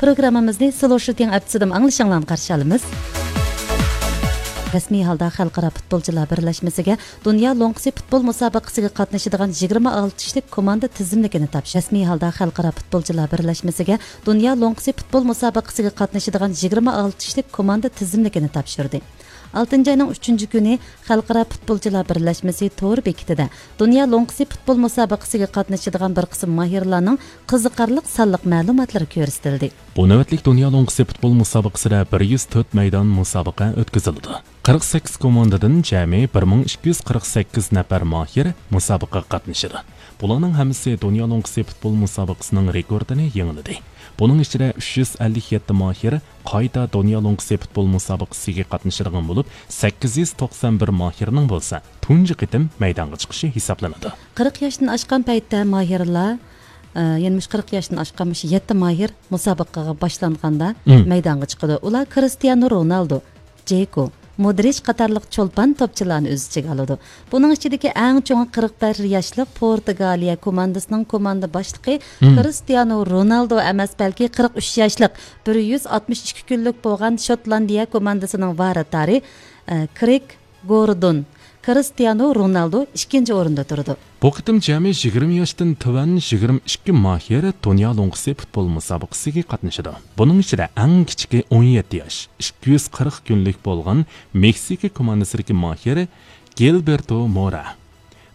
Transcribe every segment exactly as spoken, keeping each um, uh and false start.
پروگراممىمىزنى سلوشىتىڭ ئەپسىدىم ئاڭلىشىڭلارنى قارشى ئالىمىز. رەسمىي ھالدا خەلقئارا پۇتبولچىلار بىرلەشمىسىگە دۇنيا لوڭقىسى پۇتبول مۇسابىقىسىگە قاتنىشىدىغان يىگىرمە ئالتە كىشىلىك كوماندا تىزىملىكىنى تاپشۇردى. رەسمىي ھالدا خەلقئارا پۇتبولچىلار بىرلەشمىسىگە دۇنيا لوڭقىسى پۇتبول مۇسابىقىسىگە قاتنىشىدىغان يىگىرمە ئالتە كىشىلىك كوماندا تىزىملىكىنى تاپشۇردى. ئالتىنچى ئاينىڭ ئۈچىنچى كۈنى خەلقئارا پۇتبولچىلار بىرلەشمىسى تور بېكىتىدە دۇنيا لوڭقىسى پۇتبول مۇسابىقىسىگە قاتنىشىدىغان بىر قىسىم ماھىرلارنىڭ قىزىقارلىق سانلىق مەلۇماتلىرى كۆرسىتىلدى. بۇ نۆۋەتلىك دۇنيا لوڭقىسى پۇتبول مۇسابىقىسىدە بىر يۈز تۆت مەيدان مۇسابىقە ئۆتكۈزۈلىدۇ. قىرىق سەككىز كوماندىدىن جەمئىي بىر مىڭ ئىككى يۈز قىرىق سەككىز نەپەر ماھىر مۇسابىقىگە قاتنىشىدۇ. بۇلارنىڭ ھەممىسى دۇنيا لوڭقىسى پۇتبول مۇسابىقىسىنىڭ رېكورتىنى يېڭىلىدى. بۇنىڭ ئىچىدە ئۈچ يۈز ئەللىك يەتتە ماھىر قايتا دۇنيا لوڭقىسى پۇتبول مۇسابىقىسىگە قاتنىشىدىغان بولۇپ، سەككىز يۈز توقسان بىر ماھىرنىڭ بولسا تۇنجى قېتىم مەيدانغا چىقىشى ھېسابلىنىدۇ. قىرىق ياشتىن ئاشقان پەيتتە ماھىرلار، ئە، يەنە مۇشۇ قىرىق ياشتىن ئاشقان مۇشۇ يەتتە ماھىر مۇسابىقىگە باشلانغاندا مم. مەيدانغا چىقىدۇ. ئۇلار كرىستىيانو رونالدو، جېكو، مودرىچ قاتارلىق چولپان توپچىلارنى ئۆز ئىچىگە ئالىدۇ. بۇنىڭ ئىچىدىكى ئەڭ چوڭى قىرىق بەش ياشلىق پورتۇگالىيە كوماندىسىنىڭ كوماندا باشلىقى مم. كرىستىيانو رونالدو ئەمەس، بەلكى قىرىق ئۈچ ياشلىق، بىر يۈز ئاتمىش ئىككى كۈنلۈك بولغان شوتلاندىيە كوماندىسىنىڭ ۋاراتارى، ئە، كرېگ گوردون. كرىستىيانو رونالدو ئىككىنچى ئورۇندا تۇرىدۇ. بۇ قېتىم جەمئىي يىگىرمە ياشتىن تۆۋەن يىگىرمە ئىككى ماھىر دۇنيا لوڭقىسى پۇتبول مۇسابىقىسىگە قاتنىشىدۇ. بۇنىڭ ئىچىدە ئەڭ كىچىكى ئون يەتتە ياش، ئىككى يۈز قىرىق كۈنلۈك بولغان مېكسىكا كوماندىسىدىكى ماھىر گىلبېرتو مورا.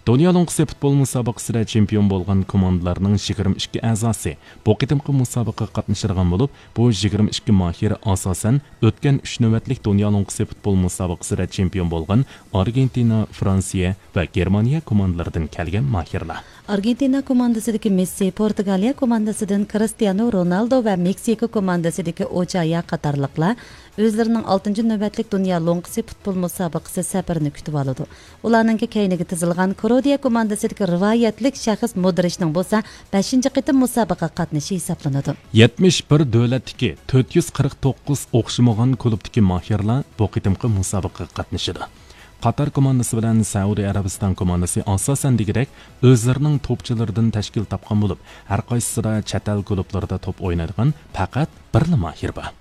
دۇنيا لوڭقىسى پۇتبول مۇسابىقىسىدە چېمپىيون بولغان كوماندىلارنىڭ يىگىرمە ئىككى ئەزاسى بۇ قېتىمقى مۇسابىقىگە قاتنىشىدىغان بولۇپ، بۇ يىگىرمە ئىككى ماھىر ئاساسەن ئۆتكەن ئۈچ نۆۋەتلىك دۇنيا لوڭقىسى پۇتبول مۇسابىقىسىدە چېمپىيون بولغان ئارگېنتىنا، فرانسىيە ۋە گېرمانىيە كوماندىلىرىدىن كەلگەن ماھىرلار. ئارگېنتىنا كوماندىسىدىكى مېسسى، پورتۇگالىيە كوماندىسىدىن كرىستىيانو رونالدو ۋە مېكسىكو كوماندىسىدىكى ئوچايا قاتارلىقلار ئۆزلىرىنىڭ ئالتىنچى نۆۋەتلىك دۇنيا لوڭقىسى پۇتبول مۇسابىقىسى سەپىرىنى كۈتۈۋالىدۇ. ئۇلارنىڭكى كەينىگە تىزىلغان كروئاتىيە كوماندىسىدىكى رىۋايەتلىك شەخس مودرىچنىڭ بولسا بەشىنچى قېتىم مۇسابىقىگە قاتنىشىشى ھېسابلىنىدۇ. يەتمىش بىر دۆلەتتىكى تۆت يۈز قىرىق توققۇز ئوخشىمىغان كۇلۇبتىكى ماھىرلار بۇ قېتىمقى مۇسابىقىگە قاتنىشىدۇ. قاتار كوماندىسى بىلەن سەئۇدى ئەرەبىستان كوماندىسى ئاساسەن دېگۈدەك ئۆزلىرىنىڭ توپچىلىرىدىن تەشكىل تاپقان بولۇپ، ھەرقايسىسىدا چەت ئەل كۇلۇبلىرىدا توپ ئوينايدىغان پەقەت بىرلا ماھىر بار.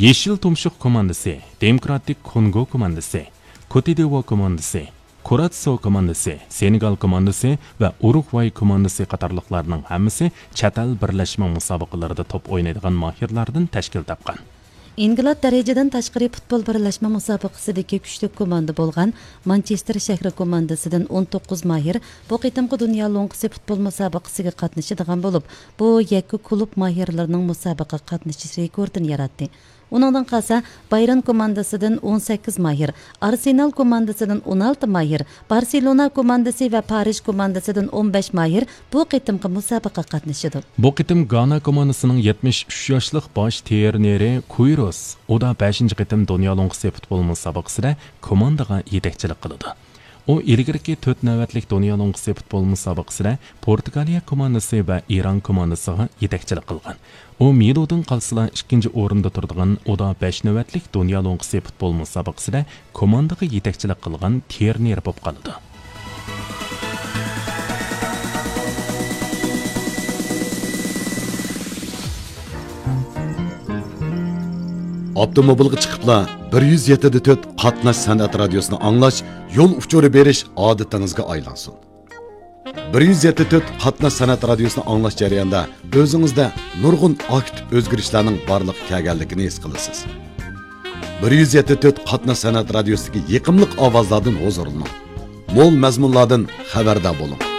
يېشىل تۇمشۇق كوماندىسى، دېموكراتىك كونگو كوماندىسى، كوتىدىۋو كوماندىسى، كۇراتسو كوماندىسى، سېنېگال كوماندىسى ۋە ئۇرۇگۋاي كوماندىسى قاتارلىقلارنىڭ ھەممىسى چەت ئەل بىرلەشمە مۇسابىقىلىرىدا توپ ئوينايدىغان ماھىرلاردىن تەشكىل تاپقان. ئىنقىلاب دەرىجىدىن تاشقىرى پۇتبول بىرلەشمە مۇسابىقىسىدىكى كۈچلۈك كوماندا بولغان مانچېستېر شەھىرى كوماندىسىدىن ئون توققۇز ماھىر بۇ قېتىمقى دۇنيا لوڭقىسى پۇتبول مۇسابىقىسىگە قاتنىشىدىغان بولۇپ، بۇ يەككە كۇلۇب ماھىرلىرىنىڭ مۇسابىقىگە قاتنىشىش رېكورتىنى ياراتتى. ئۇنىڭدىن قالسا، بايرن كوماندىسىدىن ئون سەككىز ماھىر، ئارسېنال كوماندىسىدىن ئون ئالتە ماھىر، بارسېلونا كوماندىسى ۋە پارىژ كوماندىسىدىن ئون بەش ماھىر بۇ قېتىمقى مۇسابىقىگە قاتنىشىدۇ. بۇ قېتىم گانا كوماندىسىنىڭ يەتمىش ئۈچ ياشلىق باش ترېنېرى كۇيروس ئۇدا بەشىنچى قېتىم دۇنيا لوڭقىسى پۇتبول مۇسابىقىسىدە كوماندىغا يېتەكچىلىك قىلىدۇ. ئۇ ئىلگىرىكى تۆت نۆۋەتلىك دۇنيا لوڭقىسى پۇتبول مۇسابىقىسىدە پورتۇگالىيە كوماندىسى ۋە ئىران كوماندىسىغا يېتەكچىلىك قىلغان. ئۇ مىلۇدىن قالسىلا ئىككىنچى ئورۇندا تۇرىدىغان ئۇدا بەش نۆۋەتلىك دۇنيا لوڭقىسى پۇتبول مۇسابىقىسىدە كوماندىغا يېتەكچىلىك قىلغان ترېنېر بولۇپ قالىدۇ. ئاپتوموبىلغا چىقىپلا بىر يۈز يەتتە دە تۆت قاتناش سەنئەت رادىيوسىنى ئاڭلاش، يول ئۇچۇرى بېرىش ئادىتىڭىزگە ئايلانسۇن. بىر يۈز يەتتە تۆت قاتناش سەنئەت رادىيوسىنى ئاڭلاش جەريانىدا ئۆزىڭىزدە نۇرغۇن ئاكتىپ ئۆزگىرىشلەرنىڭ بارلىققا كەلگەنلىكىنى ھېس قىلىسىز. بىر يۈز يەتتە تۆت قاتناش سەنئەت رادىيوسىدىكى يېقىملىق ئاۋازلاردىن ھۇزۇرلىنىڭ. مول مەزمۇنلاردىن خەۋەردار بولۇڭ.